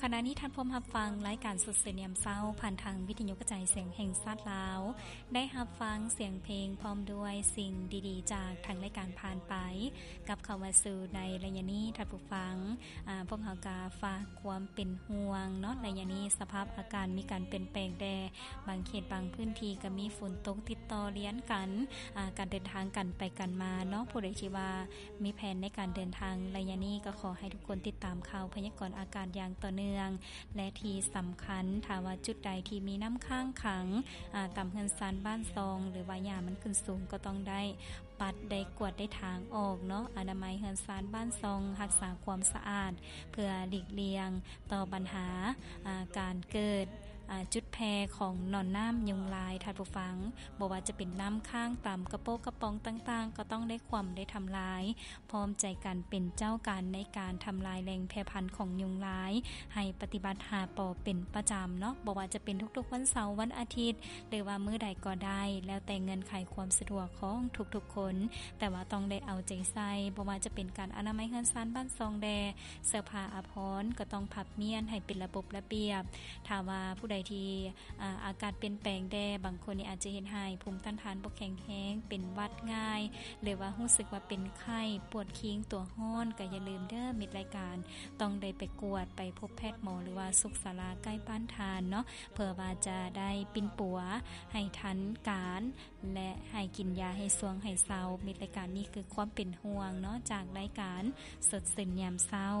ຂະນະນີ້ທ່ານພົມຮັບຟັງລາຍການສົດຊື່ນຍາມເຊົ້າ ຜ່ານທາງວິທະຍຸກະຈາຍສຽງແຫ່ງຊາດລາວ, ໄດ້ຮັບຟັງສຽງເພງພ້ອມດ້ວຍສິ່ງດີໆຈາກທາງລາຍການຜ່ານໄປ. ກັບເຂົ້າມາສູ່ໃນໄລຍະນີ້ທ່ານຜູ້ຟັງ, ອາ, ພວກເຮົາກະຝາກຄວາມເປັນຫ່ວງເນາະ, ໄລຍະນີ້ສະພາບອາກາດມີການປ່ຽນແປງແດ່, ບາງເຂດບາງພື້ນທີ່ກະມີຝົນຕົກຕິດຕໍ່ລຽນກັນ, ອາ, ການເດີນທາງກັນໄປກັນມາເນາະ, ຜູ້ໃດທີ່ວ່າ ມີແຜນໃນການເດີນທາງໄລຍະນີ້ ກໍຂໍໃຫ້ທຸກຄົນຕິດຕາມຂ່າວພະຍາກອນອາກາດຢ່າງຕໍ່ເນື່ອງ ແລະ ທີ່ສຳຄັນ ຖ້າວ່າຈຸດໃດທີ່ມີນ້ຳຄ້າງຂັງ, ອາ, ຕາມເຮືອນຊານບ້ານຊ່ອງ ຫຼືວ່າຫຍ້າມັນຂຶ້ນສູງ ກໍຕ້ອງໄດ້ປັດ, ໄດ້ກວາດ, ໄດ້ຖາງອອກເນາະ, ອະນາໄມເຮືອນຊານບ້ານຊ່ອງ, ຮັກສາຄວາມສະອາດ ເພື່ອຫຼີກລ່ຽງຕໍ່ບັນຫາ, ອາ, ການເກີດ, ອາ, ຈຸດແຜ່ຂອງໜອນນ້ຳຍຸງລາຍ. ທ່ານຜູ້ຟັງ, ບໍ່ວ່າຈະເປັນນ້ຳຄ້າງຕາມກະໂປະກະປ໋ອງຕ່າງໆ ກໍຕ້ອງໄດ້ຂວ້ຳ, ໄດ້ທຳລາຍ. ພ້ອມໃຈກັນເປັນເຈົ້າການໃນການທຳລາຍແຫຼ່ງແຜ່ພັນຂອງຍຸງລາຍ ໃຫ້ປະຕິບັດຫ້າ ປ ເປັນປະຈຳເນາະ, ບໍ່ວ່າຈະເປັນທຸກໆວັນເສົາ, ວັນອາທິດ ຫຼືວ່າມື້ໃດກໍໄດ້ ແລ້ວແຕ່ເງື່ອນໄຂຄວາມສະດວກຂອງທຸກໆຄົນ, ແຕ່ວ່າຕ້ອງໄດ້ເອົາໃຈໃສ່, ບໍ່ວ່າຈະເປັນການອະນາໄມເຮືອນຊານບ້ານຊ່ອງແດ່, ເສື້ອຜ້າອາພອນກໍຕ້ອງພັບມ້ຽນໃຫ້ເປັນລະບົບລະບຽບ. ຖ້າວ່າຜູ້ໃດທີ່ ອາ, ອາກາດປ່ຽນແປງແດ່, ບາງຄົນນີ້ອາດຈະເຮັດໃຫ້ພູມຕ້ານທານບໍ່ແຂງແຮງ, ເປັນຫວັດງ່າຍ ຫຼືວ່າຮູ້ສຶກວ່າເປັນໄຂ້, ປວດຄີງ, ຕົວຮ້ອນ, ກໍຢ່າລືມເດີ, ມິດລາຍການຕ້ອງໄດ້ໄປກວດ, ໄປພົບແພດໝໍ ຫຼືວ່າສຸກສາລາໃກ້ບ້ານທ່ານເນາະ, ເພື່ອວ່າຈະໄດ້ປິ່ນປົວໃຫ້ທັນການ ແລະ ໃຫ້ກິນຢາໃຫ້ຊ່ວງໃຫ້ເຊົາ. ມິດລາຍການນີ້ຄືຄວາມເປັນຫ່ວງເນາະ ຈາກລາຍການສົດຊື່ນຍາມເຊົ້າ.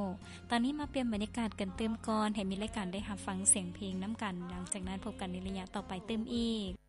ຕອນນີ້ມາປ່ຽນບັນຍາກາດກັນຕື່ມກ່ອນ, ໃຫ້ມິດລາຍການໄດ້ຮັບຟັງສຽງເພງນຳກັນ, ຫຼັງຈາກນັ້ນພົບກັນໃນໄລຍະຕໍ່ໄປຕື່ມອີກ.